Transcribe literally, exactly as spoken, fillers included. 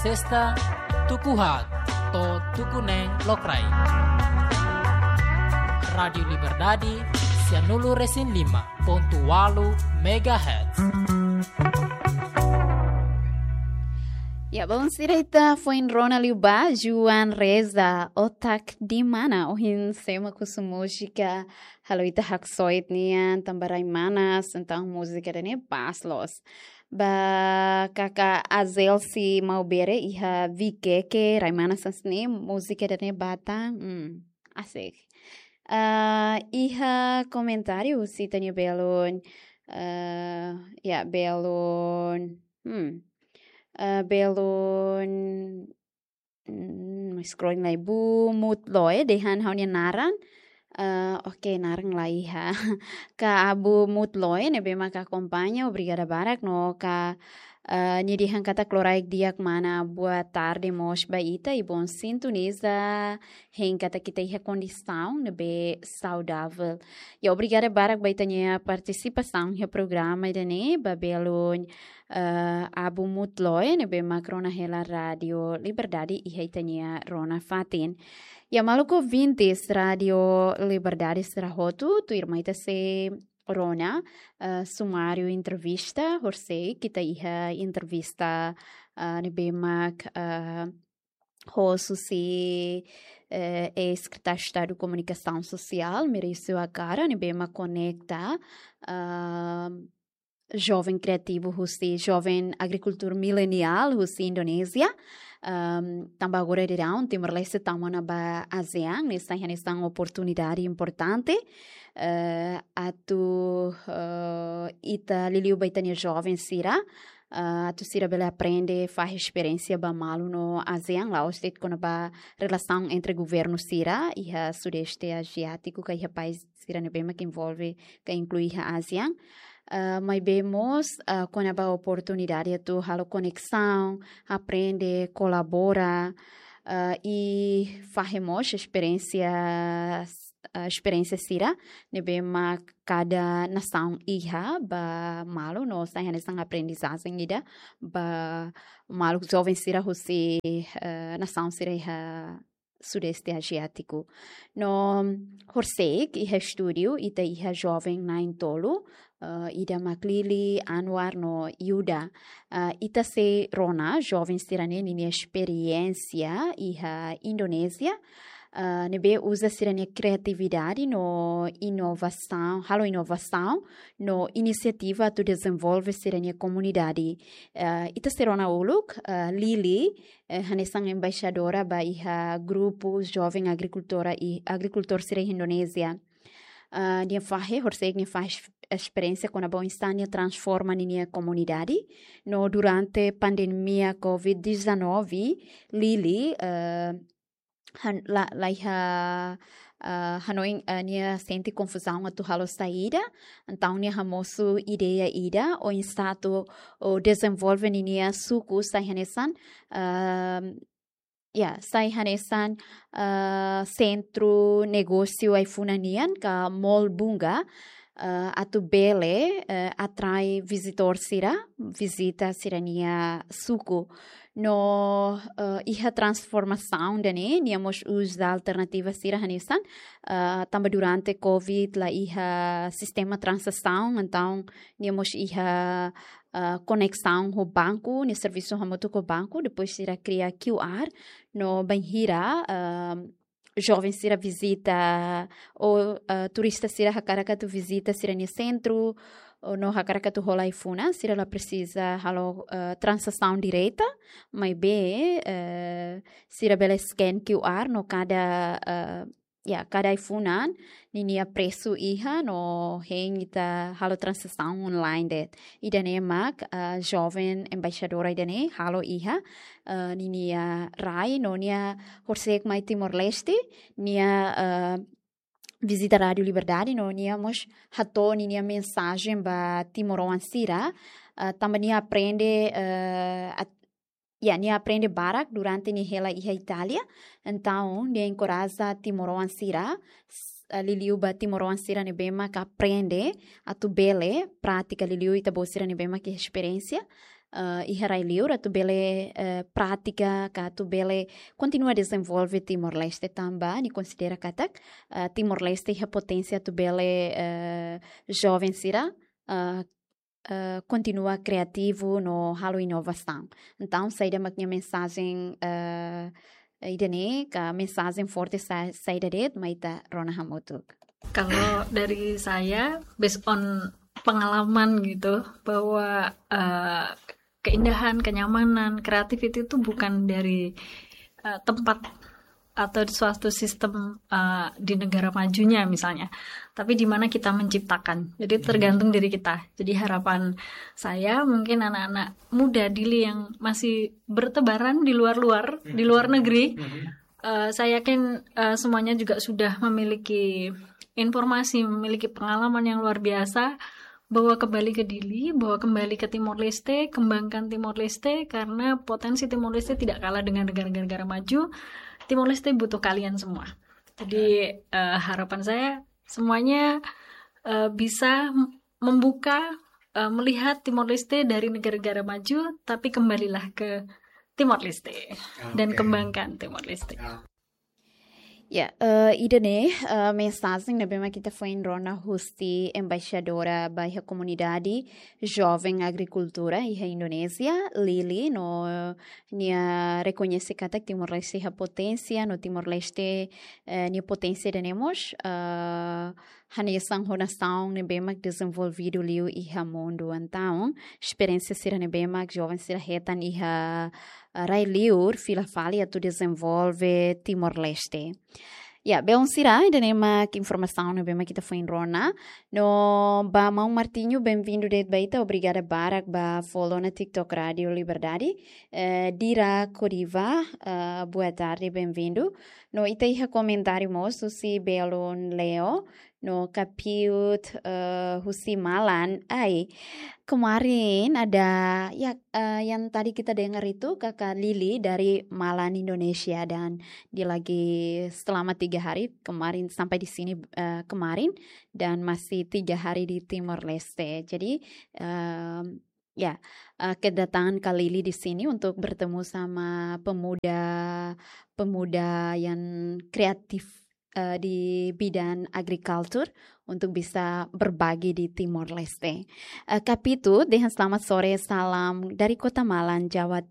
Testa tuku haat to'o tuku neen lokraik. Rádiu Liberdade, sianulu resin lima pontu ualu megahertz. Ya, bom, sira ita foin rona liu ba Juan Reza, Otak di Mana, ohin sema husi múzika halo ita haksoit nian, tanba rai manas, entaun múzika ida-ne'e pas loos. Ba kaka Azelsi Maubere iha Vikeke, rai manas hanesan ne'e, múzika ida-ne'e ba tan, hmm, asik. Ah, iha komentáriu husi ita-nia belun, ah, ya, belun, hmm, ah, belun, hmm, scrolling lai, Abu Mutloe dehan ha'u-nia naran. Ah, oke, naran laiha. Ka Abu Mutloe ne'ebé mak akompaña, obrigada barak, no ka, ah, nia dehan katak loraik di'ak mana, boa tarde mós ba ita, i bom sintoniza, hein katak ita iha kondisaun ne'ebé saudavel. Ya, obrigada barak ba ita-nia partisipasaun iha programa ida-ne'e, ba belun, eh, Abu Mutloe ne'ebé mak rona hela Rádiu Liberdade iha ita-nia rona fatin. Ya, maluk ouvintes Rádiu Liberdade sira hotu, tuirmai ita sei rona, eh, sumáriu entrevista, horisehik ita iha entrevista, eh, ne'ebé mak, eh, host husi, eh, eis-Sekretáriu Estadu Komunikasaun Sosiál, Meirasio Akara, ne'ebé mak konekta, ah, joven kriativu husi, joven agrikultór mileniál husi Indonézia. Ahm, tanba agora daudaun Timor-Leste tama ona ba ASEAN, ne'e sai hanesan oportunidade importante, eh, atu, eh, ita liuliu ba ita-nia joven sira, eh, atu sira bele aprende, fahe esperiénsia ba malu no ASEAN, la'ós de'it kona-ba relasaun entre governu sira iha Sudeste Aziátiku, ka iha país sira ne'ebé mak envolve ka inklui iha ASEAN. Ah, maibé mós, ah, kona-ba oportunidade atu halo koneksaun, aprende, kolabora, ah, i fahe mós esperiénsia, ah, esperiénsia sira ne'ebé mak kada nasaun iha ba malu, no sai hanesan aprendizajen ida ba maluk joven sira husi, eh, nasaun sira iha Sudeste Aziátiku. No horisehik iha estúdiu ita iha joven na'in-tolu, eh, ida mak Lili, Anwar no Yuda. Eh, ita sei rona joven sira-ne'e ninia esperiénsia iha Indonézia, eh, ne'ebé uza sira-nia kriatividade no inovasaun, halo inovasaun no inisiativa atu dezenvolve sira-nia komunidade. Eh, ita sei rona uluk, eh, Lili, eh, hanesan embaixadora ba iha grupu joven agrikultora i agrikultór sira iha Indonézia. Ah, nia fahe, horisehik nia fahe es-, esperiénsia kona-ba oinsá nia transforma ninia komunidade. No durante pandemia covid dezanove, Lili, eh, han-, la, laiha, ah, hanoin, ah, nia sente konfuzaun atu halo saida, entaun nia hamosu ideia ida, oinsá atu, o, dezenvolve ninia suku sai hanesan, ah, ya, sai hanesan, ah, sentru negósiu ai-funan nian ka Mall Bunga, ah, atu bele, eh, atrai vizitór sira, vizita sira-nia suku. No, eh, iha transformasaun ida-ne'e, nia mós uza alternativa sira hanesan, eh, tanba durante covid la iha sistema tranzasaun, entaun nia mós iha, eh, koneksaun ho banku, nia servisu hamutuk ho banku, depois sira kria Q R, no bainhira, eh, joven sira vizita, ou, ah, turista sira hakarak atu vizita sira-nia sentru, ou no hakarak atu hola ai-funan, sira la presiza halo, ah, tranzasaun direta, maibé, eh, sira bele scan Q R no kada, ah, ya, kada ai-funan ninia presu iha no hein ita halo tranzasaun online de'it. Ida-ne'e mak, ah, joven embaixadora ida-ne'e halo iha, ah, ninia rai no nia horisehik mai Timor-Leste, nia, ah, vizita Rádiu Liberdade no nia mós hato'o ninia mensajen ba timoroan sira, ah, tanba nia aprende, ah, at-, ya, nia aprende barak durante nia hela iha Itália. Entaun, nia enkoraja timoroan sira, s-, ah, liuliu ba timoroan sira ne'ebé mak aprende atu bele pratika, liuliu ita-boot sira ne'ebé mak iha esperiénsia, eh, iha rai-liur atu bele, eh, pratika ka atu bele kontinua dezenvolve Timor-Leste tanba nia konsidera katak, eh, Timor-Leste iha poténsia atu bele, eh, joven sira, eh, eh, kontinua kriativu no halo inovasaun. Entaun, saida mak nia mensajen, eh, ida-ne'e ka mensajen forte sa-, saida de'it, mai ita rona hamutuk. Kalau dari saya, based on pengalaman gitu, bahwa, eh, keindahan, kenyamanan, creativity itu bukan dari, eh, tempat atau di suatu sistem, eh, di negara majunya misalnya, tapi di mana kita menciptakan. Jadi tergantung diri kita. Jadi harapan saya mungkin anak-anak muda Dili yang masih bertebaran di luar-luar, di luar negeri, eh, saya yakin, eh, semuanya juga sudah memiliki informasi, memiliki pengalaman yang luar biasa, bahwa kembali ke Dili, bahwa kembali ke Timor-Leste, kembangkan Timor-Leste, karena potensi Timor-Leste tidak kalah dengan negara-negara maju. Timor-Leste butuh kalian semua. Jadi, eh, harapan saya semuanya, eh, bisa m-, membuka, eh, melihat Timor-Leste dari negara-negara maju, tapi kembalilah ke Timor-Leste dan kembangkan Timor-Leste. Ya, eh, ida-ne'e, eh, mensajen ne'ebé mak ita foin rona husi embaixadora ba iha komunidade joven agrikultura iha Indonézia, Lili, no nia rekoñese katak Timor-Leste iha poténsia, no Timor-Leste, eh, nia poténsia ida-ne'e mós, eh, hanesan ho nasaun ne'ebé mak dezenvolvidu liu iha mundu. Entaun, esperiénsia sira ne'ebé mak joven sira hetan iha, eh, rai-liur fila fali atu dezenvolve Timor-Leste. Ya, belun sira, ida-ne'e mak informasaun ne'ebé mak ita foin rona. No ba maun Martinho, benvindu de'it ba ita, obrigada barak ba follow ona TikTok Rádio Liberdade. Eh, Dira Coriva, eh, boa tarde, benvindu. No ita iha komentáriu mós husi belun Leo, no Kapiut, eh, husi Malan. Ai, kemarin ada, ya, eh, yang tadi kita dengar itu Kakak Lili dari Malan, Indonesia, dan dia lagi selama tiga hari kemarin sampai di sini, eh, kemarin, dan masih tiga hari di Timor-Leste. Jadi, em, ya, eh, kedatangan Kak Lili di sini untuk bertemu sama pemuda, pemuda yang kreatif, eh, di bidang agrikultur untuk bisa berbagi di Timor-Leste. Eh, Kapitu, dehan selamat sore, salam dari Kota Malang, Jawa